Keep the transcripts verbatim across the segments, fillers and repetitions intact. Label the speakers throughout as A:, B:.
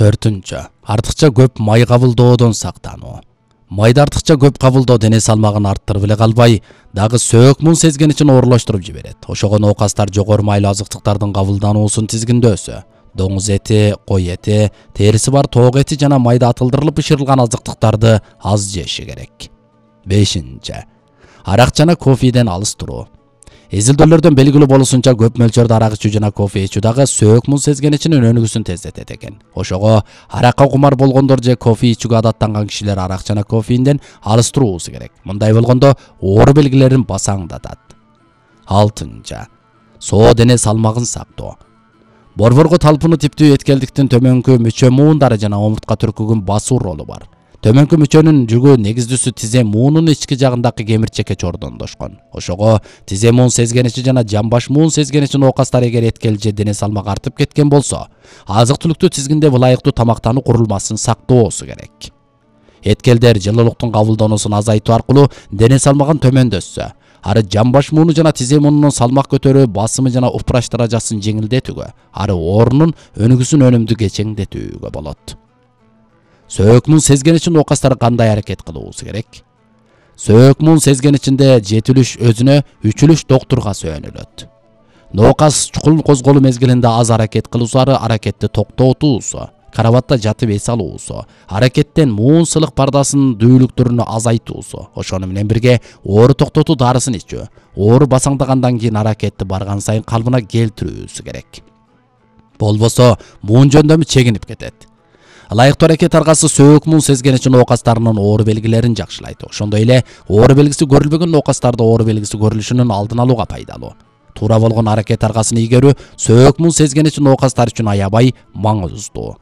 A: төртүнчү. Артыкча көп май кабылдоодон сактануу. Майды артыкча көп кабылдоо дене салмагын арттырып эле калбай, дагы сөөк муун сезгеничин оорлоштуруп жиберет. Ошого оокастар жогору майлуу азыктыктардын кабылдануусун тизгиндөөсө, доңуз эти, кой эти, териси бар тоок эти жана майда атылдырылып бышырылган азыктыктарды аз жеши керек. бешинчи. Арак жана кофеден алыс туруу. Изилдөөлөрдөн белгилүү болушунча көп мөлчөрдө арак ичүү жана кофе ичүү дагы сөөк муун сезгеничинин өнүгүүсүн тездетет экен. Ошого аракка кумар болгондор же кофе ичүүгө адаттанган кишилер арак жана кофеинден алыс туруусу керек. Мындай болгондо оору белгилерин басаңдатат. алтынчы. Соо дене салмагын сактоо. Борборго талпынуу типтүү эткелдиктин төмөнкү мүчө муундары жана омуртка түркүгүн басуу ролу бар. Төмөнкү мүчөнүн жүгү негиздүүсү тизе муунун ички жагындагы кемирчекке чордондошкон. Ошого тизе муун сезгеничи жана жамбаш муун сезгеничи оокастар эгер эткел же дене салмагы артып кеткен болсо, азык-түлүктү тизгиндеп ылайыктуу тамактануу курулмасын сактоосу керек. Эткелдер жылуулуктун кабылдануусун азайтуу аркылуу дене салмагын төмөндөтсө, ары жамбаш мууну жана тизе муунунун салмак көтөрүү басымы жана упраш даражасын жеңилдетүүгө, ары оорунун өнүгүүсүн өнүмдүү кечеңдетүүгө болот. Сөөк муун сезгеничин оокастар кандай аракет кылуусу керек? Сөөк муун сезгеничинде жетилиш өзүнө, үчүлүш доктурга сөөнүлөт. Оокас чукул козголуу мезгилинде аз аракет кылуусу, ары аракетти токтотуусу, карабатта жатып эс алуусу, аракеттен муун сылык пардасынын дүүлүктөрүнү азайтуусу, ошону менен бирге оору токтотуу дарысын ичүү, оору басаңдагандан кийин аракетти барган сайын калыбына келтирүүсү керек. Болбосо муун жөндөмү чегинип кетет. Ылайыктуу аракет аркасы сөөк муун сезгеничин оокастарынын оору белгилерин жакшылайт. Ошондой эле оору белгиси көрүлбөгөн оокастарда оору белгиси көрүлүшүнүн алдын алууга пайдалуу. Туура болгон аракет аркасын ийгерүү сөөк муун сезгеничин оокастар үчүн аябай маңыздуу.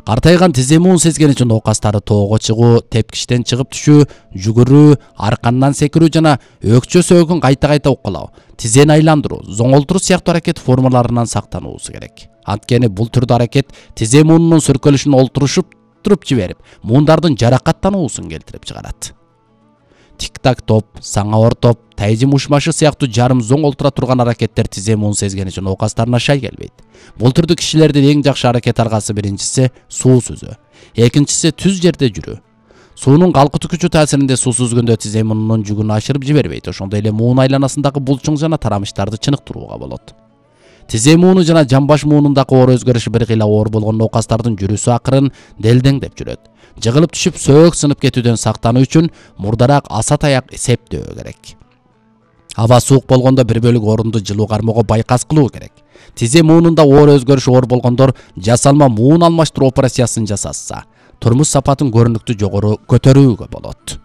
A: Картайган тизе муун сезгеничин оокастары тоого чыгуу, тепкичтен чыгып түшүү, жүгүрүү, аркандан секирүү жана өкчө сөөгүн кайта-кайта уккалоо, тизени айландыруу, зоңолтуруу сыяктуу аракет формаларынан сактануусу керек. Анткени бул түрдүү аракет тизе муунунун сүркөлүшүн олтурушуп туруп жиберип, муундардын жаракаттануусун келтирип чыгарат. Тик-так топ, саңа ортоп, тайжым ушмашы сыяктуу жарым зоң олтура турган аракеттер тизе муун сезгеничин оокастарына шай келбейт. Бул түрдүү кишилердин эң жакшы аракет аркасы биринчиси суу сүзүү, экинчиси түз жерде жүрүү. Суунун калкытуу күчү таасиринде суу сүзгөндө тизе муунунун жүгүн ашырып жибербейт. Ошондой эле муун айланасындагы булчуң жана тарамыштарды чыныктырууга болот. Тизе мууну жана жамбаш муунундагы оору өзгөрүшү бир кыйла оор болгон оокастардын жүрүүсү акырын делдеңдеп жүрөт. Жыгылып түшүп сөөк сынып кетүүдөн сактануу үчүн мурдараак аса таяк септөө керек. Аба суук болгондо бир бөлүк орунду жылуу кармоого байкас кылуу керек. Тизе муунунда оору өзгөрүшү оор болгондор жасалма муун алмаштыруу операциясын жасаса, турмуш сапатын көрүнүктүү жогору көтөрүүгө болот.